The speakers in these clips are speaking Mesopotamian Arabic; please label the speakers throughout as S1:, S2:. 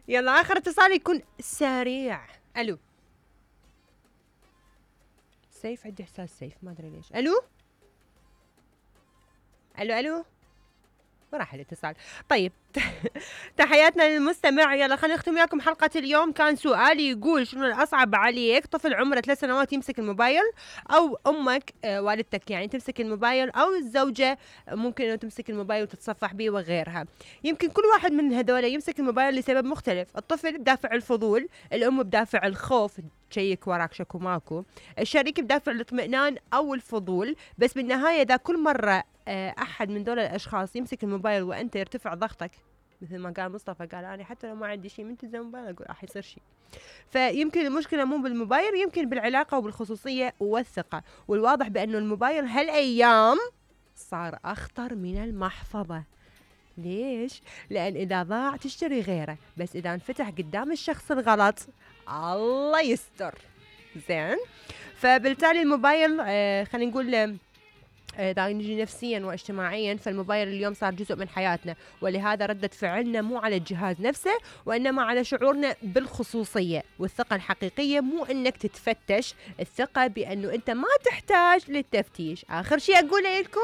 S1: يلا آخر اتصال يكون سريع. ألو سيف، عندي إحساس سيف، ما أدري ليش. ألو ألو ألو، وراح الاتصال. طيب تحياتنا للمستمع. يلا خلينا نختم وياكم حلقة اليوم. كان سؤالي يقول شنو الأصعب عليك، طفل عمره 3 سنوات يمسك الموبايل، أو أمك والدتك يعني تمسك الموبايل، أو الزوجة ممكن إنه تمسك الموبايل وتتصفح به وغيرها. يمكن كل واحد من هذول يمسك الموبايل لسبب مختلف. الطفل بدافع الفضول، الأم بدافع الخوف تشيك وراك شكو ماكو، الشريك بدافع الاطمئنان أو الفضول. بس بالنهاية إذا كل مرة أحد من دول الأشخاص يمسك الموبايل وأنت يرتفع ضغطك، مثل ما قال مصطفى، قال أنا حتى لو ما عندي شيء من تلزم الموبايل أقول راح يصير شيء. فيمكن المشكلة مو بالموبايل، يمكن بالعلاقة وبالخصوصية والثقة. والواضح بأنه الموبايل هالأيام صار أخطر من المحفظة. ليش؟ لأن إذا ضاع تشتري غيره، بس إذا انفتح قدام الشخص الغلط الله يستر. زين، فبالتالي الموبايل خلينا نقول إذا نجي نفسيا واجتماعيا، فالموبايل اليوم صار جزء من حياتنا، ولهذا ردة فعلنا مو على الجهاز نفسه وإنما على شعورنا بالخصوصية. والثقة الحقيقية مو إنك تتفتش، الثقة بأنه أنت ما تحتاج للتفتيش. آخر شيء أقوله لكم،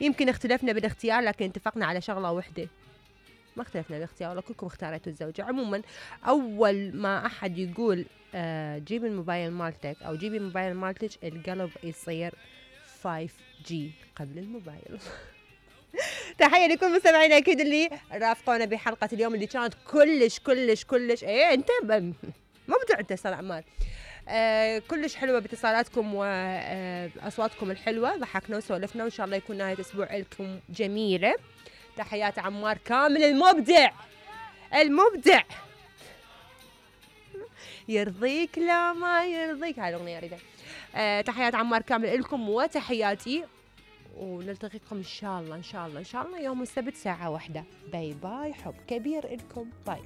S1: يمكن اختلفنا بالاختيار لكن اتفقنا على شغلة واحدة، ما اختلفنا بالاختيار ولا كلكم اختاريتوا الزوجة. عموما أول ما أحد يقول جيب الموبايل مالتك أو جيبي الموبايل مالتك، القلب يصير 5G قبل الموبايل. تحية لكل مستمعينا أكيد اللي رافقونا بحلقة اليوم اللي كانت كلش إيه أنت مبدع أنت صار أعمال كلش حلوة باتصالاتكم وأصواتكم الحلوة، ضحكنا وسولفنا، وإن شاء الله يكون نهاية أسبوع لكم جميلة. تحيات عمار كامل المبدع يرضيك لا ما يرضيك، هاي الأغنية أريدها. تحيات عمار كامل لكم وتحياتي، ونلتقيكم إن شاء الله يوم السبت ساعة 1. باي باي، حب كبير لكم، باي.